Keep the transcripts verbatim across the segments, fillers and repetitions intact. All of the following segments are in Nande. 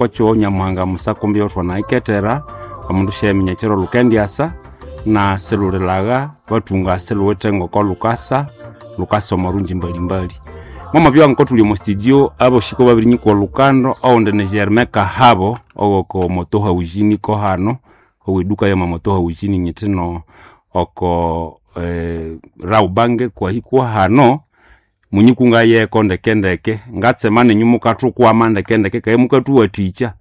Kwakyo Nyamuhanga musakumbi yothwanaikethera omundu syaminya ekiro lukendyasa na silulilagha bathunga siluwithe ngoko lukasa lukasa omo rungyi mbalimbali. Mwamabya ngoko thuli omo studio aboshiko babirinyikwa olhukando oghundi ni Germain Kahabo owoko Moto Housing kohano oweduka yama Moto Housing nyithino oko eh, Rawbank kwahikwa hano munyikunga yeko ndekendeke ngatsema nenyu mukathukwama ndekendeke kaye mukathuwathikya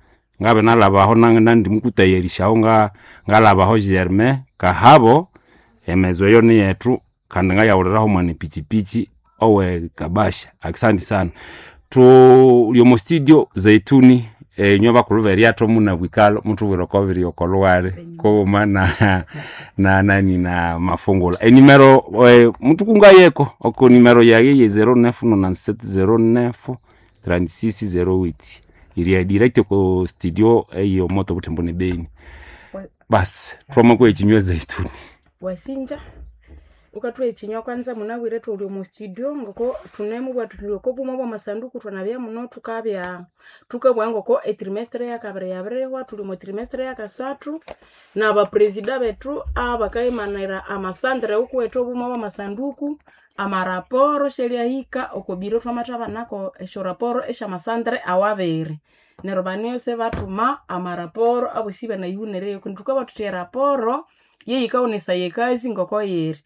ngabe nalhabaho nandimukutayarishaho nga ngalhabaho Germain Kahabo emezo eyo niyethu kandi ngayawuliraho mwana epichipichi owe Kabasha akisandi sana thuli omo studio Zaituni enywe bakulhu beryatho munabwikalo muthubwire oko biri oko lhughali kughuma na na nani na mafungula enimero eh, muthukungayeko oko nimero yaye ye zero nine nonante-sept zero nine trente-six zero huit iri direct oko studio eyo moto Butembo ne Beni basi thwamakuha ekinywa Zaituni Wasinja ukathuha ekinywa kwanza munabwire thuli omu studio ngoko thunemubwa thuthi oko buma bwa masanduku thwanabya muno thukabya thukabugha ngoko etrimestre yakabiri yabirihwa thuli omo trimestre yakasathu nabapresida bethu abakayimanira amasandre wukuwethu obuma bwa masanduku amaraporo syaliahika oko biro thwamathabanako esyoraporo esyamasandre awabiri neryo baniyose bathuma amaraporo abosi ibanayihunireyo kundi thukabugha thuthi eraporo yeyikawunesaya ekasi ngoko yiri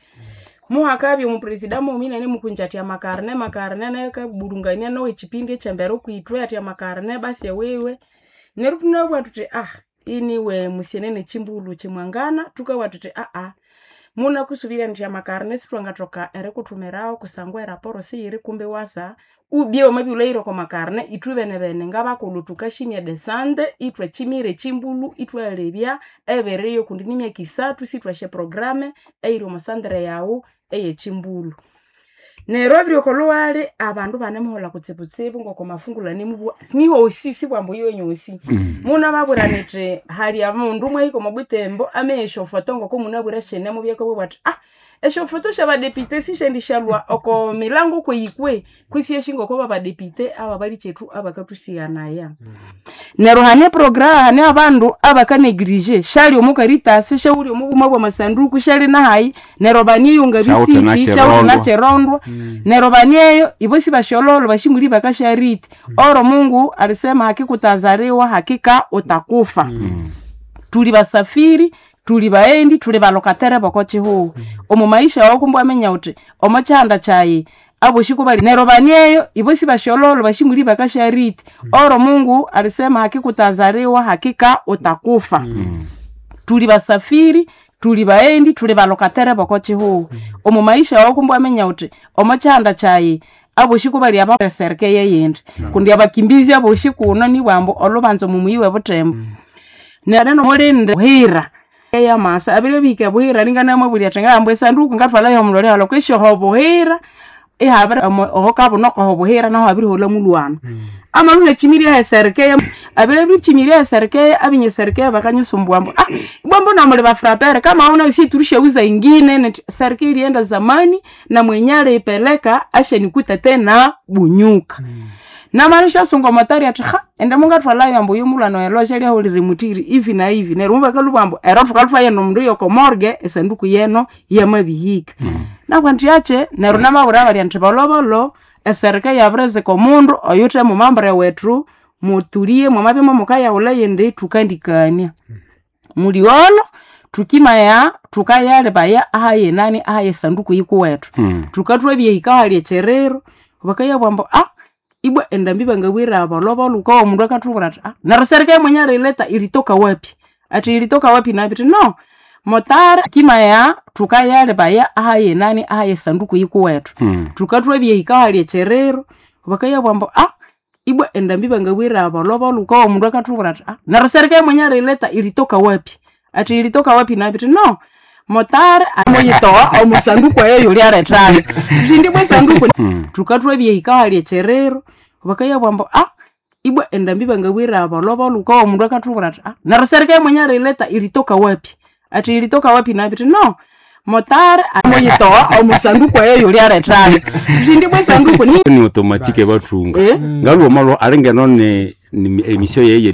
muhakabya omupresida mughuma inanimukunja athi amakarne makarne nayo akabulungania nowekyipindi ekyembere okwithwe athi amakarne basi ewiwe neryo thunabugha thuthi ah iniwe musienene chimbulu chimwangana thukabugha thuthi aa munakusubirya nithi amakarne sithwangathoka erikuthumirawo kusangwa eraporo siyiri kumbi wasa ubye wamabya iwulhayire oko makarne ithwe benebene ngabakulhu thukashimya desande ithwachimira echimbulu ithwalebya ebiriyo kundi nimyaka isathu sithwasya programe eyiri omo sandre yaghu eyechimbulu neryo ebiri oko lhughali abandu banemuholha kutsibutsibu ngoko mafungulhu anemubugha nihosi sibwambu iwe nyosi munababwira nithi hali omundu mwahika omo butembo ameya esyofoto ngoko munabwire syinemubyako ibabugha bathi ah esyofoto syabadepite sisyendisyalhwa oko milango kweyikwe kwisi esi ngoko babadepite ababalikyethu abakathusighanaya neryo hane progra hane abandu abakaneglige syali omo karitasi syawuli omo buma bwa masanduku syali nahayi neryo baniyunga Syawuthe bisiki syawuthe nakyirondwa. nakyirondwa neryo banieyo ibo sibashyololo bashimuli bakashariti oro Mungu alisema hakika utazaliwa hakika utakufa tuli basafiri tuli baendi tuli balokatere boko chihuhu omu maisha wawu kumbe waminya uthi omo kyihanda kyayi aboshi kubali neryo banieyo ibo sibashyololo bashimuli bakashariti oro Mungu alisema hakika utazaliwa hakika utakufa tuli basafiri tuli baendi tuli balokatere boko chihuhu omu maisha wawu kumbe waminya uthi omo kyihanda kyayi aboshi kubali abasereke yeyindi kundi abakimbizi aboshi kuno nibwambu olhubanza omumuyi webutembo neryo mulinde buhira eyamasa abire bihika buhira ninganamabulya athi ngahamba esanduku ngathwalayo omulole halwa kwisi oho buhira ihabiri oho kabunoko oho buhira naho habiriholha mulhwana amalhuha echimirya eserikeya abire bichimirya eserikeya abinye serikeya bakanyisumbua ambu ah ibwa mbona muli bafrapere kama una si turushauza ingine nti serikeya ilienda zamani na mwenye aliipeleka ashanikuta tena bunyuka mm. namala syasunga omotari athi ha ende mungathwalayo ambu oyo mulhwana oyo elosha lyahulire mutiri ivi na ivi neryo mubakalhubugha ambu ero thukalhutha yeno omundu yoko morgue esanduku yeno yamabihika mm. nabwa nthi akye neryo namabwira balya nthi bolhobolho eserika yabirizika omundu oyuthe mumambure wethu mutulie mwamabya mukayawulha yindi thukandikania muliolo thukimaya thukayalebaya ahayenani ahayesanduku yikuwethu Mm. thukathwabyehika hali ekyerero bakayabugha ambu ah ibwa endambi bangabwire bolobolo ukawa omundu akathubwira athi ah neryo serikali mwenye alileta ilitoka wapi athi ilitoka wapi nabi athi no motari kimaya thukayalebaya ahayenani ahayesanduku yikuwethu Mm. thukathwabyehika hali ekyerero bakayabugha ambu ah ibwa endambi bangabwire bolobolo ukawa omundu akathubwira athi ah neryo serikali mwenye alileta ilitoka wapi athi ilitoka wapi nabi athi no motari amuyitoa omusanduku eyo yulyalethayo sindi bwe sanduku thukathwabyehika hali ekyerero bakayabugha ambu ah ibwa endambi bangabwire bolobolo ukawa omundu akathubwira athi ah neryo serikali mwenye alileta ilitoka wapi athi ilitoka wapi nabi athi no motari amuyitoa omusanduku eyo yulyalethayo sindi bwe sanduku ni ni automatique bathunga Eh? ngalhuma alingeno ni, ni emission yeye